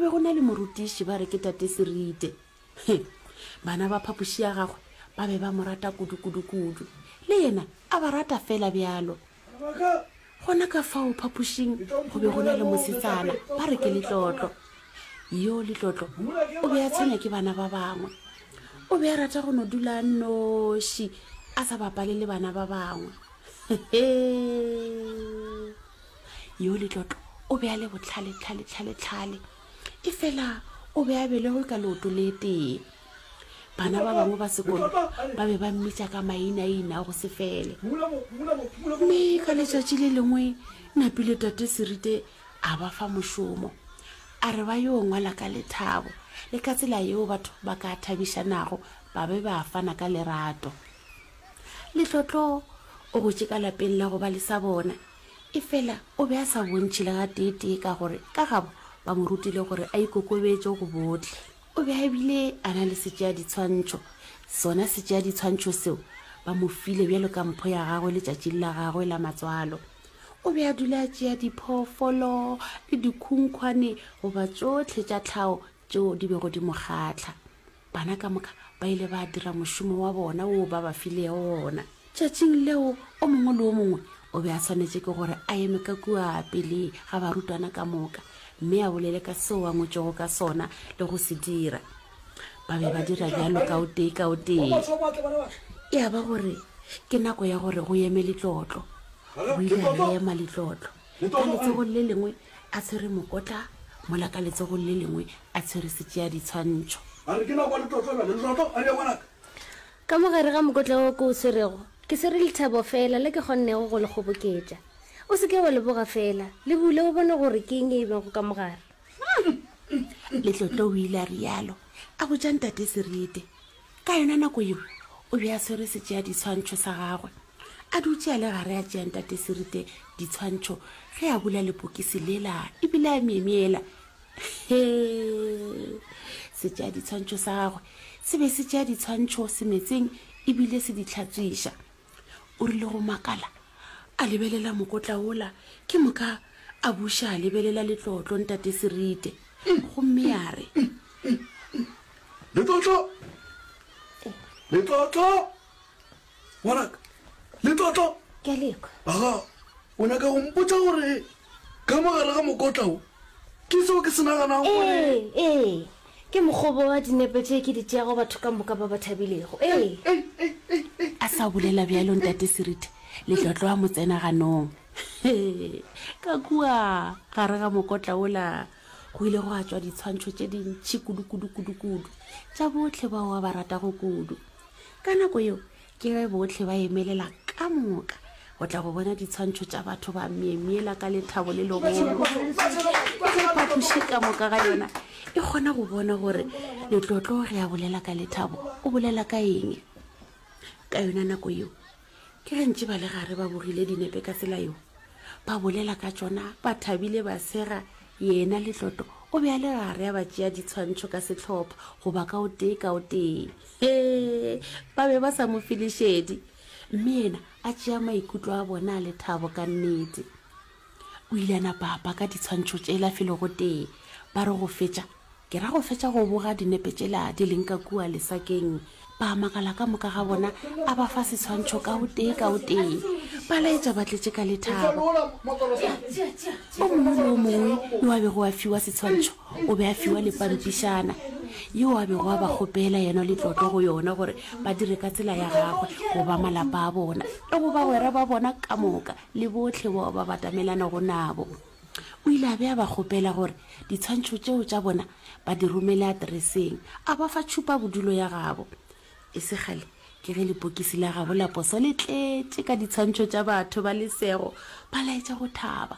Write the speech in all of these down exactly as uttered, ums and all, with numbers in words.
go be go na le morutiši ba re ke Tate Serite. He, bana ba phapoši ya gagwe ba be ba mo rata kudu-kudu-kudu. Le yena a ba rata fela bjalo. Gona ka fao phapošing go be go na le mosetsana ba re ke Letlotlo. Yo Letlotlo o be a tshwenya ke bana ba bangwe. O be a rata go no dula a nnoši a sa bapale le bana ba bangwe. Hehe. Yo Letlotlo o be a le bohlale tlhale tlhale tlhale. Efela o be a belegwe ka leoto le tee. Bana ba bangwe ba sekolo ba be ba mmitša ka mainaina a go se fele. Mme ka letšatši le lengwe Napile Tate Serite a ba fa mošomo. A re ba yo ngwala ka lethabo le ka tsela yeo batho ba ka thabišanago ba be ba fana ka lerato. Letlotlo o gotše ka lapeng la go ba le sa bona, efela o be a sa bontšhe le gateetee ka gore ka gabo ba mo rutile gore a ikokobetše go bohle. O be a bile a na le setšeaditshwantšho. Sona setšeaditshwantšho seo ba mo file bjalo ka mpho ya gagwe letšatšing la gagwe la matswalo. O be a dula a tšea diphoofolo le dikhunkhwane goba tšohle tša tlhago tšeo di bego di mo kgahla. Bana ka moka ba ile ba dira mošomo wa bona woo ba ba filego wona. Tšatšing leo o mongwe le o mongwe o be a swanetše ke gore a eme ka kua pele ga barutwana ka moka mme a bolele ka seo a ngwetšego ka sona le go se dira. Ba be ba dira bjalo ka o tee ka o tee. Ya ba gore ke nako ya gore go eme Letlotlo. O ile a ema Letlotlo. Ka letsogong le lengwe a tshwere mokotla mola ka letsogong le lengwe a tshwere setšeaditshwantšho. A re, Ke nako ya letlotlo bjale. Letlotlo, a re, Ngwanaka. Ka mo gare ga mokotla wo ke o swerego, ke swere lethabo feela le ke kgonnego go le kgoboketša. O se ke wa le boga feela, le bule o bone gore ke eng e bego ka mo gare. Letlotlo o ile a realo, a botša Ntate Serite. Ka yona nako yeo, o be a swere setšeaditshwantšho sa gagwe, a dutše a le gare a tšea Ntate Serite ditshwantšho ge a bula lepokisi lela ebile a myemyela. He! Setšeaditshwantšho sa gagwe se be se tšea ditshwantšho semetseng ebile se di hlatswiša. O rile go makala, a lebelela mokotla wola, ke moka a buša a lebelela letlotlo Ntate Serite, gomme a re. Letlotlo! Letlotlo! Ngwanaka, Letlotlo! Ke a le kwa. Aga, o nyaka go mpotša gore ka mo gare ga mokotla wo ke seo ke se naganago gore. Ee, ee, ke mokgobo wa dinepe tše ke di tšeago batho ka moka ba ba thabilego. Ee. A sa bolela bjalo Ntate Serite, Letlotlo a mo tsena ganong. Hee, ka kua gare ga mokotla wola go ile gwa tšwa ditshwantšho tše dintši kudu-kudu-kudu-kudu tša bohle bao a ba ratago kudu. Ka nako yeo ke ge bohle ba emelela ka moka go tla go bona ditshwantšho tša batho ba myemyela ka lethabo le legolo. Ge phapoši ka moka ga yona e kgona go bona gore Letlotlo ge a bolela ka lethabo o bolela ka eng. Ka yona nako yeo ke ge ntše ba le gare ba bogile dinepe ka tsela yeo, ba bolela ka tšona ba thabile ba sega, yena Letlotlo o be a le gare a ba tšea ditshwantšho ka sehlopha goba ka o tee ka o tee. Hee, ba be ba sa mo fe lešedi, mme yena a tšea maikutlo a bona a lethabo ka nnete. O ile a napa a paka ditshwantšho tšela felo gotee, ba re go fetša, ke ra go fetša go boga dinepe tšela di leng ka kua lesakeng. Ba makala ka moka ga bona, a ba fa setshwantšho ka o tee ka o tee. Ba laetša ba tletše ka lethabo. O mongwe le o mongwe yo a bego a fiwa setshwantšho o be a fiwa le pampišana yeo a bego a ba kgopela yena letlotlo go yona gore ba dire ka tsela ya gagwe go ba malapa a bona le go bagwera ba bona ka moka le bohle bao ba batamelanago nabo. O ile a be a ba kgopela gore ditshwantšho tšeo tša bona ba di romele atereseng, a ba fa tšhupa bodulo ya gabo. E se kgale ke ge lepokisi la gabo la poso le tletše ka ditshwantšho tša batho ba lesego ba laetša go thaba.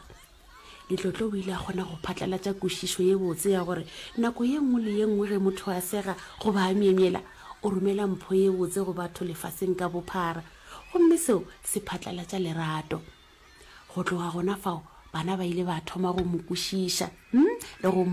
Letlotlo o ile a kgona go phatlalatša kwešišo ye botse ya gore nako ye nngwe le ye nngwe ge motho a sega goba a myemyela, o romela mpho ye botse go batho lefaseng ka bophara, gomme seo se phatlalatša lerato. Go tloga gona fao, bana ba ile ba thoma go mo kwešiša le go mo.